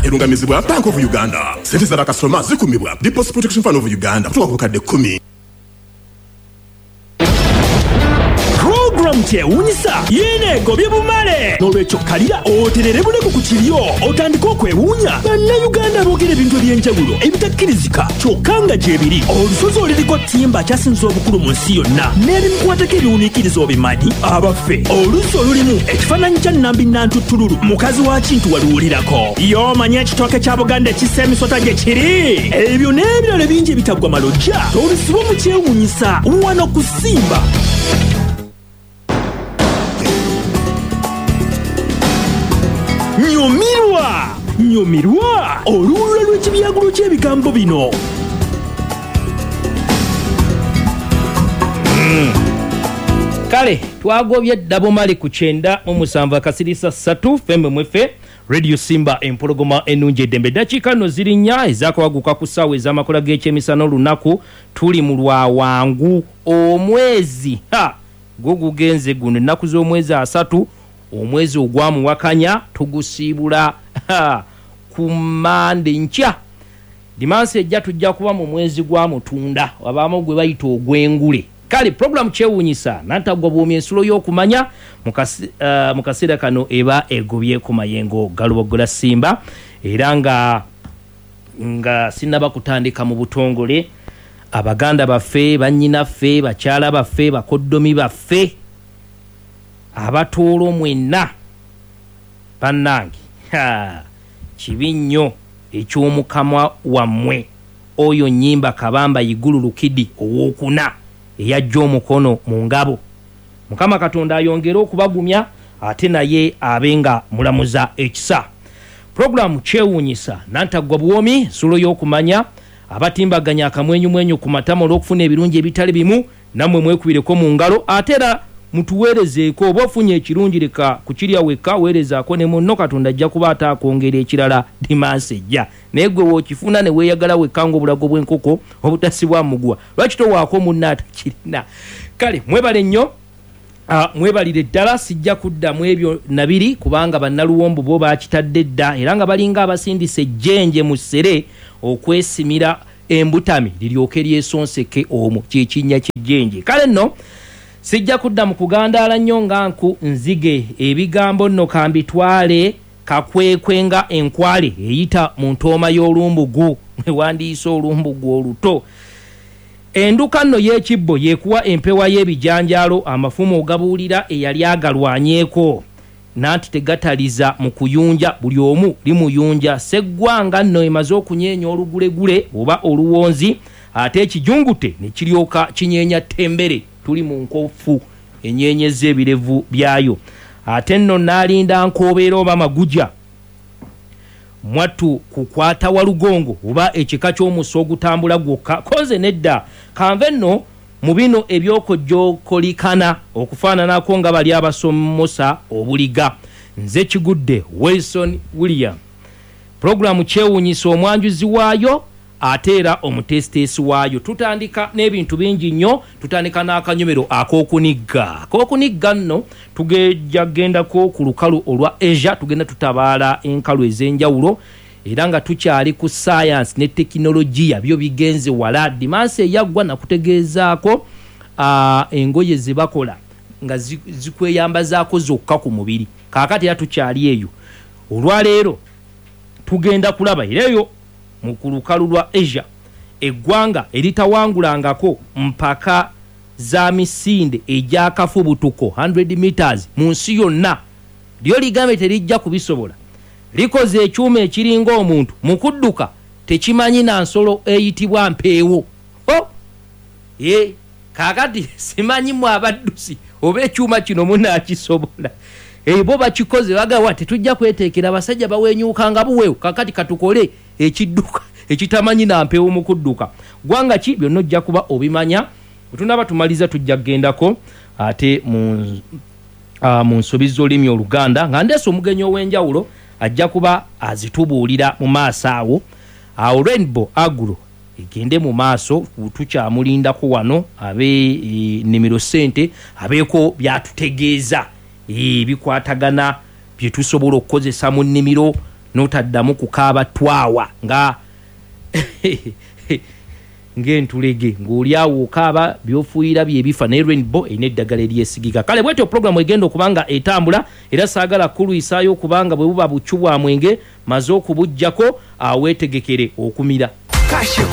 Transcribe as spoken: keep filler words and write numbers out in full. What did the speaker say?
Erungamizibwa Bank of Uganda. Sente za bakasitoma zikumibwa Deposit Protection Fund of Uganda kutuuka ku bukadde kkumi. Program kyewuunyisa yiine egobye bumale. N'olwekyo kalira oterere buleku ku kiryo otandike okwewuunya. Bannayuganda boogera ebintu eby'enjawulo ebitakkirizika kyokka nga gye biri. Olusozi oliriko ttimba akyasinze obukulu mu nsi yonna n'ebimukwatako ebiwuniikiriza obimanyi. Abaffe, oluzzi olulimu ekifaananyi kya Nnambi Nantuttululu mukazi wa Kintu waluwulirako. Y'omanyi ekitooke kya Buganda ekissa emisota gye kiri. Ebyo n'ebirala bingi ebitaggwa malojja tobisibwa mu kyewuunyisa wano ku Simba. Nyumirwa, nyumirwa oluwulula lw'ekibyagulo ky'ebigambo bino. Mm. Kale twagobye ddabomali ku kyenda mu musanvu akasirisa ssatu fembe mwefe Radio Simba empologoma ennungi eddembe. Ddakiika nno ziri nnya ezakawaguka ku ssaawa ez'amakola g'ekyemisana olunaku tuli mu lwawangu omwezi ha gwo gugenze guno ennaku z'omwezi asatu omwezi ogwamuwakanya tugusiibula ku Mande nkya. Dimansi ejja tujja kuba mu mwezi gwa Mutunda wabaamu gwe bayita ogw'engule. Kale program kyewuunyisa Nantagwa Buwoomi ensulo y'okumanya mu kaseera kano eba egobye ku mayengo galubogola Simba. Era nga nga sinnaba kutandika mu butongole, abaganda baffe, bannyinaffe, bakyala baffe, bakoddomi baffe abatuulo mwenna bannange, kibi nnyo eky'omukama wammwe oyo Nnyimba Kabamba Igulu Lukidi owookuna eyajja omukono mu ngabo. Mukama Katonda ayongere okubagumya ate naye abe nga mulamuza ekisa. Puroguramu kyewuunyisa Nantagwa Buwoomi nsulo y'okumanya abatimbaganya akamwenyumwenyu ku matama olw'okufuna ebirungi ebitali bimu, nammwe mwekubireko mu ngalo ate era mutuweerezeeko. Oba ofunye ekirungi leka kukirya wekka, weerezaako ne munno, Katonda ajja kuba ate akwongera ekirala dimansi ejja. Naye gwe w'okifuna ne weeyagala wekka ng'obulago bw'enkoko obutasibwa muguwa, lwaki towaako munno atakirina? Kale mwebale nnyo, uh, mwebalire ddala. Sijja kuddamu ebyo nabiri kubanga bannaluwombo bo bakitadde dda era nga balinga abasindise ejjenje mu ssere okwesimira embutami liryoke lyesonseke omwo kyekinnya ky'ejjenje. Kale nno sijja kudda mu kugandaala nnyo nga nku nzige. Ebigambo nno kambitwale kakwekwe nga enkwale eyita mu ntooma y'olumbugu ewandiisa olumbugu oluto. Enduka nno y'ekibbo yekuwa empewa y'ebijanjaalo amafumu ogabuulira eyali agalwanyeeko nanti tegataliza mu kuyunja buli omu limuyunja. Sseggwanga nno emaze okunyeenya olugulegule oba oluwonzi ate ekijungute ne kiryoka kinyeenya ttembere. Tuli mu nkofu enyenyeza ebirevu byayo. Ate nno n'alinda nkobeera oba maguja mwattu kukwata walugongo oba ekika ky'omusa ogutambula gwokka koze nedda. Kanve nno mu bino ebyokojjokolikana okufaananako nga bali abasomosa obuliga. Nze Kigudde Wilson William. Puroguramu kyewuunyisa omwanjuzi waayo ate era omuteesiteesi waayo. Tutandika n'ebintu bingi nnyo. Tutandika n'akanyomero ak'okunigga. Ak'okunigga nno tugejja gendako ku lukalu olwa Asia, tugenda tutabaala enkalu ez'enjawulo era nga tukyali ku science ne tekinologiya byo bigenze wala. Dimansi eyaggwa nakutegeezaako uh, engoye ze bakola nga zikweyambazaako zokka ku mubiri. Kaakati era tukyali eyo. Olwaleero tugenda kulaba era eyo mu lukalu lwa Asia eggwanga eritawangulangako mpaka za misinde egy'akafubutuko hundred meters mu nsi yonna lyo ligambe terijja kubisobola. Likoze ekyuma ekiringa omuntu mu kudduka tekimanyi na nsolo eyitibwa mpeewo. Oh! Ye kaakati simanyi mwe abaddusi oba ekyuma kino munaakisobola. E, bo bakikoze bagawa tetujja kweteekera abasajja bawenyuukanga buweewo, kaakati katukole ekidduka ekitamanyi na mpeewo mu kudduka. Gwanga ki byonna ojja kuba obimanya. Bwe tunaaba tumaliza tujja kugendako ate mu uh, mu nsobi z'olulimi Oluganda nga ndeese omugenyi ow'enjawulo ajja kuba azitubuulira mu maaso awo. Awo Rainbow Agro egende mu maaso, tukyamulindako wano abe e, nimiro ssente abeeko byatutegeeza e, bikwatagana bye tusobola okukozesa mu nnimiro N'otaddamu kukaaba twawa nga ng'entulege ng'oli awo okaaba by'ofuuyira byebifa, naye Rainbow erina eddagala eryesigika. Kale bwetyo puroguramu egenda okuba nga etambula, era saagala kulwisaayo kubanga bwe buba bucu bwa mwenge maze okubuggyako, aweetegekere okumira. Kashiko.